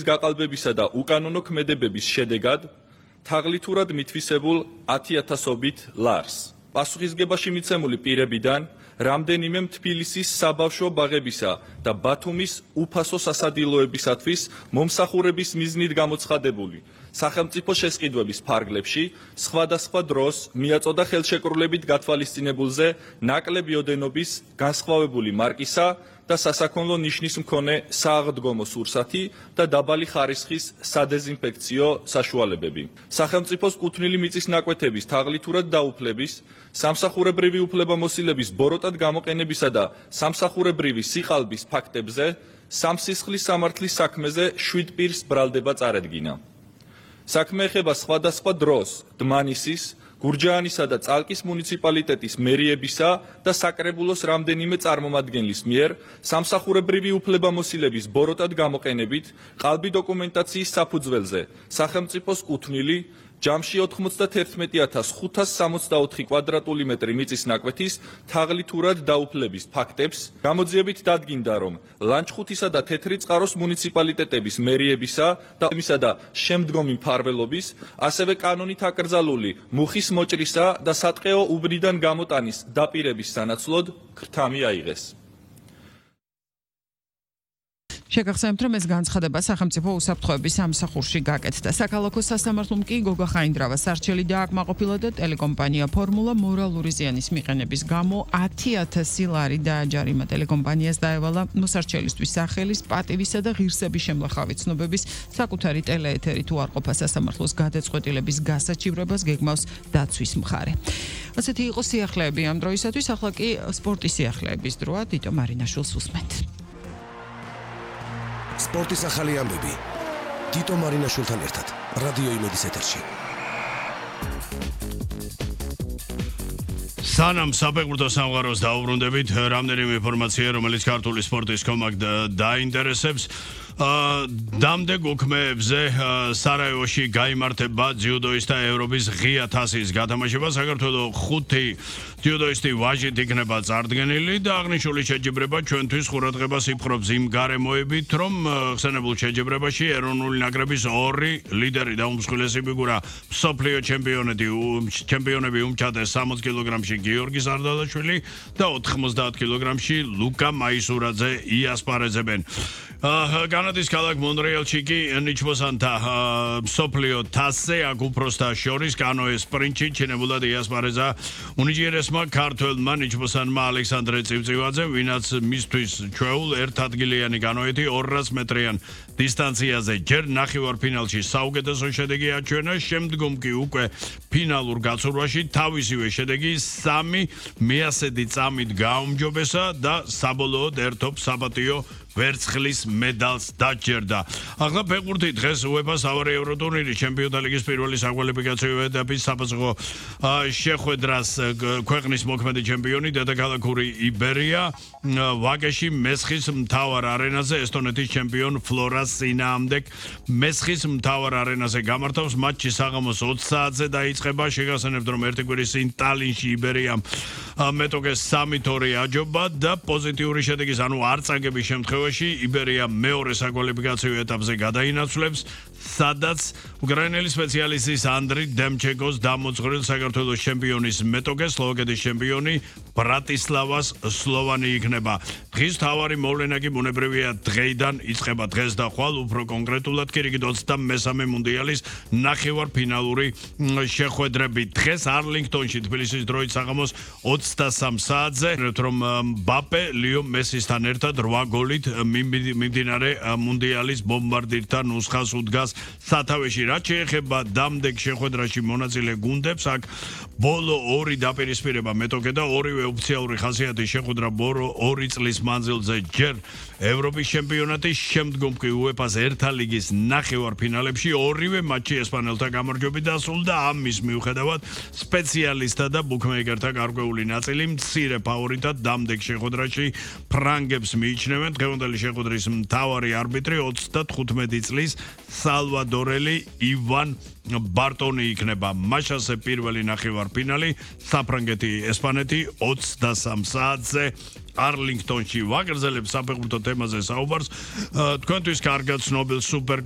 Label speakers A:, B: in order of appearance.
A: გაყალბებისა და უკანონო ქმედებების შედეგად თაღლითურად მითვისებულ 10,000-ობით ლარს. პასუხისგებაში მიცემული პირებიდან რამდენიმე თბილისის საბავშვო ბაღებისა და ბათუმის უფასო სასადილოებისათვის მომსახურების მიზნით გამოცხადებული სახელმწიფო შესყიდვების ფარგლებში სხვადასხვა დროს მიაწოდა ხელშეკრულებით გათვალისწინებულზე ნაკლები ოდენობის განსხვავებული მარკისა და სასაქონლო ნიშნის მქონე სააღდგომო სურსათი და დაბალი ხარისხის სადეზინფექციო საშუალებები. სახელმწიფოს კუთვნილი მიწის ნაკვეთების თაღლითურად დაუფლების, სამსახურებრივი უფლებამოსილების ბოროტად გამოყენებისა და სამსახურებრივი სიყალბის ფაქტებზე სამსისხლის სამართლის საქმეზე 7 პირს ბრალდება წარედგინა. საქმე ეხება სხვადასხვა დროს დმანისის, გურჯაანისა და წალკის მუნიციპალიტეტის მერიებისა და საკრებულოს რამდენიმე წარმომადგენლის მიერ სამსახურებრივი უფლებამოსილების ბოროტად გამოყენებით ყალბი დოკუმენტაციის საფუძველზე სახელმწიფოს კუთვნილი ჯამში 91,564 კვადრატული მეტრი მიწის ნაკვეთის თაღლითურად დაუფლების ფაქტებს გამოძიებით დადგინდა, რომ ლანჩხუთისა და თეთრი წყაროს მუნიციპალიტეტების მერიებისა და შემდგომი მფარველობის, ასევე კანონით აკრძალული მუხის მოჭრისა და სატყეო უბნიდან გამოტანის დაპირების სანაცვლოდ ქრთამი აიღეს.
B: შეგახსენებთ, რომ ეს განცხადება სახელმწიფო უსაფრთხოების სამსახურში გაკეთდა. საქალაქო სასამართლომ კი გოგა ხაინდრავას არჩელი დააკმაყოფილა და ტელეკომპანია ფორმულა მორალური ზიანის მიყენების გამო 10,000 ლარი დააჯარიმა. ტელეკომპანიას დაევალა მოსარჩელისთვის სახელის, პატივისა და ღირსების შემლახავი ცნობების საკუთარი ტელეეთერი თუ არ ყოფა სასამართლოს გადაწყვეტილების გასაჩივრებას გეგმავს დაცვის მხარე. ასეთი იყო სიახლეები ამ დროისათვის, ახლა კი სპორტის სიახლეების დროა. დიტო მარინაშვილს უსმენთ.
C: სპორტის ახალი ამბები დიტო მარინაშვილთან ერთად რადიო იმედის ეთერში.
D: სანამ საფეხბურთო სამყაროს დაუბრუნდებით, რამდენიმე ინფორმაცია, რომელიც ქართული სპორტის კომაკ დაინტერესებს. დამდეგ უქმეებზე სარაევოში გაიმართება ძიუდოისტთა ევროპის ღია თასის გათამაშება. საქართველოს 5 ძიუდოისტი ვაჟით იქნება წარდგენილი და აღნიშნული შეჯიბრება ჩვენთვის ყურადღებას იპყრობს იმ გარემოებით, რომ ხსენებულ შეჯიბრებაში ეროვნული ნაკრების 2 ლიდერი და უმსხვილესი ფიგურა მსოფლიო ჩემპიონები უმჩატეს 60 კილოგრამში გიორგი სარდალაშვილი და 90 კილოგრამში ლუკა მაისურაძე იასპარეზებენ. კანადის ქალაქ მონრეალში კი ნიჩბოსანთა მსოფლიო თასზე აქ უფროსთა შორის კანოეს სპრინტში ჩინებულად იასპარეზა უნიჭიერესმა ქართველმა ნიჩბოსანმა ალექსანდრე წივწივაძე, ვინაც მისთვის ჩვეულ ერთადგილიანი კანოეთი 200 მეტრიან დისტანციაზე ჯერ ნახევარფინალში საუკეთესო შედეგი აჩვენა, შემდგომ კი უკვე ფინალურ გაცურვაში თავისივე შედეგი 3 მეასედი წამით გააუმჯობესა და საბოლოოდ ერთობ საპატიო ვერცხლის მედალს დაჯერდა. ახლა ფეხბურთი დღეს UEFA სავარი ევროტურნირი ჩემპიონთა ლიგის პირველი საკვალიფიკაციო ეტაპის საფასურო შეხვედრას ქვეყნის მოქმედი ჩემპიონი დედაქალაქური იბერია ვაკეში მესხის მთავარ არენაზე ესტონეთის ჩემპიონ ფლორას წინააღმდეგ მესხის მთავარ არენაზე გამართავს მატჩი საღამოს 20 საათზე დაიწყება. შეგახსენებთ, რომ ერთი კვირის წინ ტალინში იბერიამ მეტოქეს 3-2 აჯობა და პოზიტიური შედეგის, ანუ არ წაგების შემთხვევაში იბერია მეორე საკვალიფიკაციო ეტაპზე გადაინაცვლებს, სადაც უკრაინელი სპეციალისტის ანდრი დემჩეკოს დამოწვრილ საქართველოს ჩემპიონის მეტოქე სლოვაკეთის ჩემპიონი ბრატისლავას სლოვანი იქნება. დღის თავარი მოვლენა კი ბუნებრივია დღეიდან იწყება დღეს და ხვალ, უფრო კონკრეტულად კი რიგით 23 მუნდიალის ნახევარფინალური შეხვედრები. დღეს არლინგტონში თბილისის დროით საღამოს 23 საათზე, რომ მბაპე ლიო მესისთან ერთად 8 გოლით მიმდინარე მუნდიალის ბომბარდირთა ნუსხას უდგას სათავეში. რაც შეეხება დამდეგ შეხვედრაში მონაწილე გუნდებს, აქ ბოლო 2 დაპირისპირება მეტოქე და ორივე ოფიციალური ხასიათის შეხვედრა 2 წლის მანძილზე ჯერ ევროპის ჩემპიონატის, შემდგომ კი UEFA-ს ერთა ლიგის ნახევარფინალებში ორივე მატჩი ესპანელთა გამარჯვებით დასრულდა. ამის მიუხედავად სპეციალისტთა და ბუქმეიკერთა გარკვეული ნაწილი მცირე ფავორიტად დამდეგ შეხვედრაში ფრანგებს მიიჩნევენ. დღევანდელი შეხვედრის მთავარი არბიტრი 35 წლის სალვადორელი ივან ბარტონი იქნება. მაშასე პირველი ნახევარფინალი საფრანგეთი ესპანეთი 23 საათზე არლინგტონში. ვაგრძელებ საფეხბურთო თემაზე საუბარს. თქვენთვის კარგად ცნობილ სუპერ